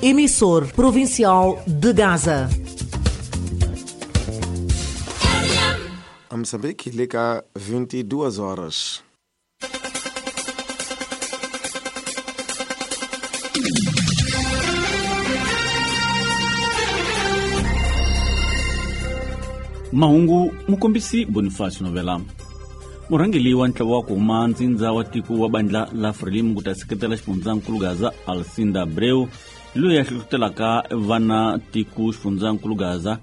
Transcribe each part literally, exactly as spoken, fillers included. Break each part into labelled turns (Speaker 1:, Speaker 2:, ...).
Speaker 1: Emissor provincial de Gaza.
Speaker 2: A Moçambique liga vinte e duas horas.
Speaker 3: Mahungu mukombisi Bonifacio Novela. Murhangeri wa ntlawa wa ku huma ntsindza wa tiko wa bandla la Frelimo ku ta seketela xifundzankulu Gaza Alcinda Abreu loyi a hlohlotelaka vana tiko xifundzankulu Gaza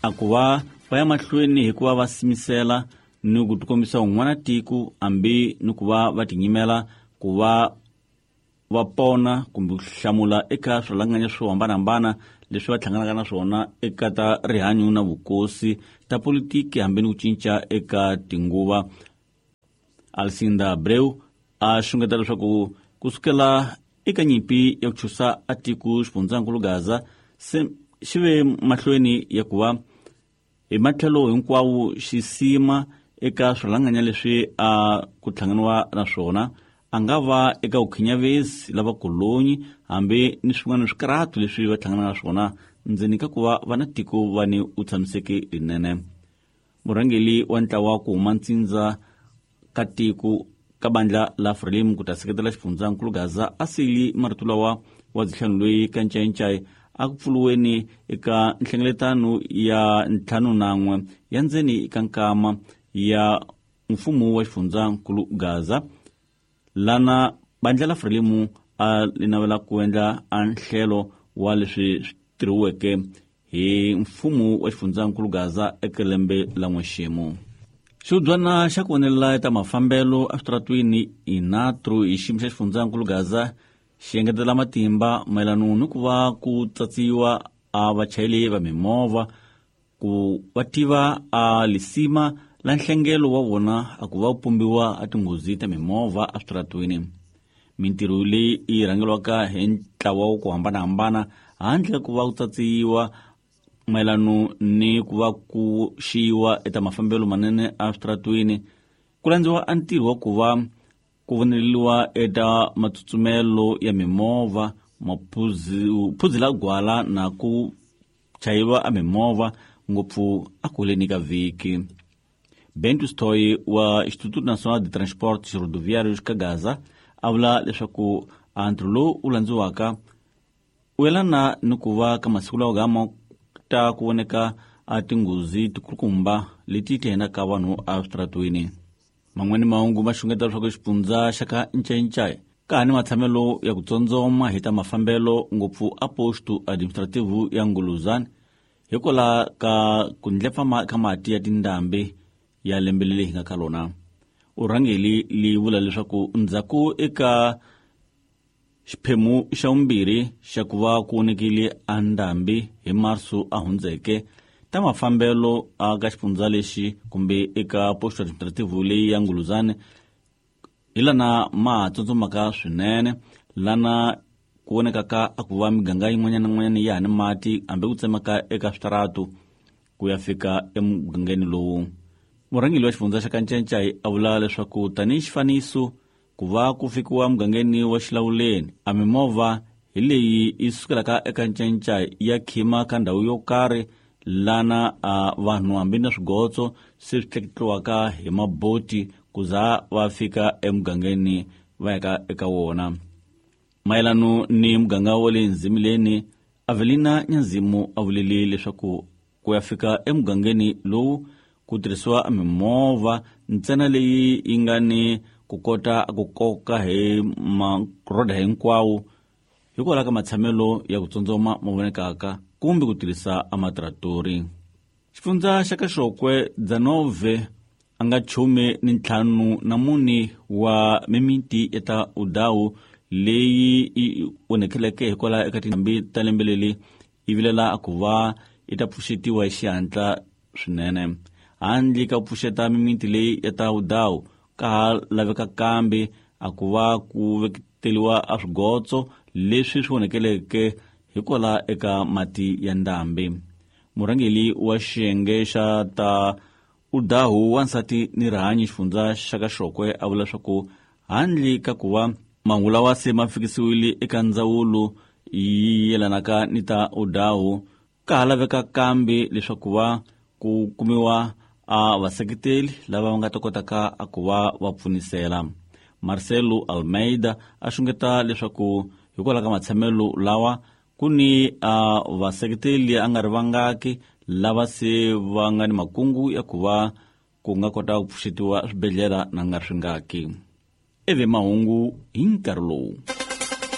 Speaker 3: a ku va va ya mahlweni hikuva va simisela ni ku tikombisa un'wana tiko hambi ni ku va va tinyimela ku va va pona kumbe ku hlamula eka swirhalanganya swo hambanahambana leswi va hlanganaka na swona eka ta rihanyo na vukosi ta politiki hambi ni ku cinca eka tinguva. Alcinda Abreu a xungeta leswaku ku sukela eka nyimpi ya ku chusa a tiko xifundzankulu Gaza se xi ve mahlweni ya ku va hi matlhelo hinkwawo xi sima eka swirhalanganya leswi a ku hlanganiwa na swona, a nga va eka vukhinyavezi lava kolonyi hambi ni swin'wana swikarhatu leswi va hlanganaka na swona ndzeni ka ku va va na tiko va ni u tshamiseke rinene. Murhangeri wa ntlawa wa ku huma ntsindza ka tiko ka bandla la Frelimo ku ta seketela xifundzankulu Gaza a sili marito lawa wa dzihlanu loyi ka Ncayincai a ku pfuluweni eka nhlengeletano ya ntlhanu nan'we ya ndzeni ka nkama ya mfumo wa xifundzankulu Gaza lana bandla la Frelimo a li navela ku endla a nhlelo wa leswi swi tirhiweke hi mfumo wa xifundzankulu Gaza eka lembe la n'wexemu. Xihubyana xa ku vonelela ta mafambelo eswitaratwini INATRO hi xiyimo xa xifundzankulu Gaza xi engetela matimba mayelana ni ku va ku tsatsiwa a vachayeri va mimovha ku va tiva a lisima la nhlengelo wa vona a ku va pumbiwa a tinghozi ta mimovha eswitaratwini. Mintirho leyi yi rhangeriwaka hi ntlawa wa ku hambanahambana handle ku va ku tsatsiwa mayelana ni ku va ku xiyiwa eka mafambelo manene eswitaratwini ku landziwa a ntirho wa ku va ku voneriwa eka matsutsumelo ya mimovha, maphuzi gwala na ku chayeriwa a mimovha ngopfu a kuleni ka vhiki. Bento Stoy wa Instituto Nacional de Transportes Rodoviários ka Gaza a vula leswaku a ntirho lowu wu landziwaka u yelana ni ku va ka masiku lawa gama ta ku voneka a tinghozi tikulukumba leti ti henaka vanhu eswitaratwini. Man'wani mahungu ma xungeta leswaku xifundza xa ka Ncayincai ka ha ni matshamelo ya ku tsondzoma hi ta mafambelo ngopfu a posto administrativo ya Nguluzana hikwalaho ka ku ndlepfa ka mati ya tindhambi ya lembe leri hi nga ka lona. Urhangeri li vula leswaku ndzhaku eka xiphemu xa vumbirhi xa ku va ku onekile a ndhambi hi Marso a hundzeke ta mafambelo a ka xifundza lexi kumbe eka posto administrativo leyi ya Nguluzana hi lana ma tsutsumaka swinene lana ku vonekaka a ku va miganga yin'wanyana na yin'wanyana ya ha ni mati hambi ku tsemaka eka switaratu ku ya fika emugangeni lowu. Murhangeri wa xifundza xa ka Ncayincai a vula leswaku tanihi xifaniso ku va ku fikiwa mugangeni wa Xilawuleni a mimovha hi leyi yi sukelaka eka Ncayincai ya khima ka ndhawu yo karhi lana a vanhu hambi na swigotso se swi tleketliwaka hi maboti ku za va fika emugangeni va yaka eka wona. Mayelano ni muganga wa le Nzimileni, Avelina Nyanzimu a vulile leswaku ku ya fika emugangeni lowu ku tirhisiwa mimovha ntsena leyi yi nga ni ku kota ku koka hi maroda hinkwawo hikwalaho ka matshamelo ya ku tsundzuma ma vonekaka kumbe ku tirhisa amatratori. Xifundza xa ka Xokwe Dzanove a nga chume ni ntlhanu na mune wa mimiti eta Udawu leyi yi onekeleke hikwalaho eka tindhambi ta lembe leri yi vilela ku va yi ta pfuxetiwa hi xihatla swinene. Handle ka ku pfuxeta mimiti leyi ya ta Udawu ka ha laveka kambe a ku va ku veketeliwa a swigotso leswi swi onekeleke hikwalaho eka mati ya ndhambi. Murhangeri wa xiyenge xa ta Udahu wansati ni rihanyo xifundza xa ka Xokwe a vula leswaku handle ka ku va mahungu lawa se ma fikisiwile eka ndzawulo yi yelanaka ni ta udawu ka ha laveka kambe leswaku va ku kumiwa a vaseketeli lava va nga ta kotaka a ku va va pfunisela. Marcelo Almeida a xungeta leswaku hikwalaho ka matshamelo lawa ku ni a vaseketeli a nga ri vangaki lava se va nga ni makungu ya ku va ku nga kota ku pfuxetiwa swibedhlele na nga ri swingaki. Eve mahungu hi nkarhi lowu.